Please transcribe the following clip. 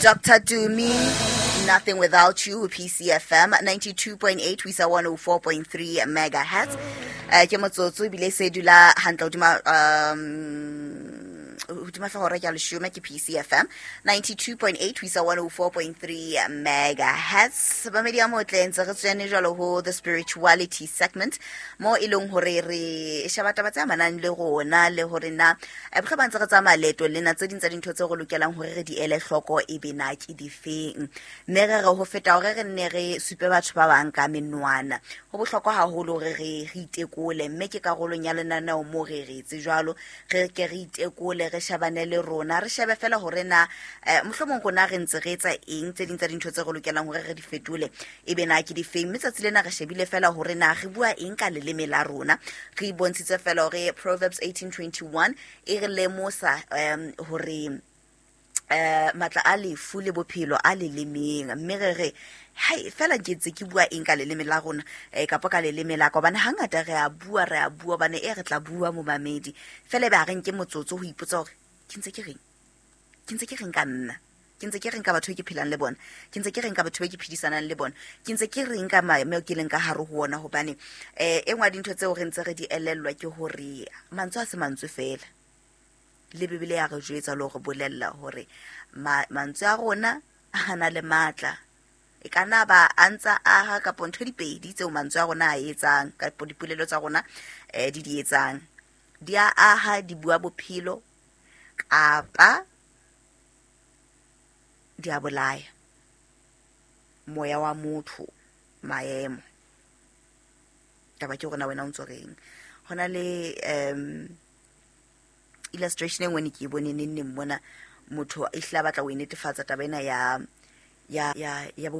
Dr Tumi, Nothing Without You, PCFM 92.8 ho isa 104.3 megahertz. Ke motsotso ebile se dula hantle hodima hodima hlooho ke ya leshome, ke PCFM 92.8 ho isa 104.3 megahertz. Bamedi ya motle, ntse re tswene jwalo ho the spirituality segment, mo e leng hore re sheba taba tse amanang le rona le hore na bohle ba ntse re tsamaya leeto lena, tse ding tsa dintho tse re lokelang hore re di ele hloko e be na ke difeng. Mme re re ho feta hore re nne re supe batho ba bang ka menwana, ho bohlokwa haholo hore re itekole. Mme ke karolong ya lenaneo mo re re etse jwalo, re ke re itekole, re shebane le rona, re shebe fela hore na mohlomong rona re ntse re etsa eng, tse ding tsa dintho tse re lokelang hore re di fetole e be na ke difeng. Mme tsatsi lena re shebile fela hore na re bua eng ka leleme la rona. Re bontshitse fela hore Proverbs 1821 e re lemosa hore matla a lefu le bophelo a lelemeng. Mme re re hai fela ke ntse ke bua eng ka leleme la rona, kapa ka leleme la ka, hobane hangata re a bua, re a bua, hobane e re tla bua momamedi fela, ebe ha re nke motsotso ho ipotsa hore ke ntse ke reng, ke ntse ke reng ka nna, ke ntse ke reng ka batho be ke phelang le bona, ke ntse ke reng ka batho be ke phedisanang le bona, ke ntse ke reng ka maemo ke leng ka hare ho ona. Hobane e nngwe ya dintho tseo re ntse re di elellwa ke hore mantswe a se mantswe fela, le Bibele ya re jwetsa le hore bolella hore mantswe a rona a na le matla, e ka nna ba a ntsa aha kapo ntho dipedi tseo mantswe a rona a etsang kapo dipolelo tsa rona di etsang, di a aha, di bua bophelo kapa di a bolaya moya wa motho, maemo. Taba ke hore na wena o ntso reng. Ho na le illustration e nngwe ne ke e bone neng neng mona, motho e hlile a batla ho e netefatsa taba ena ya bophelo.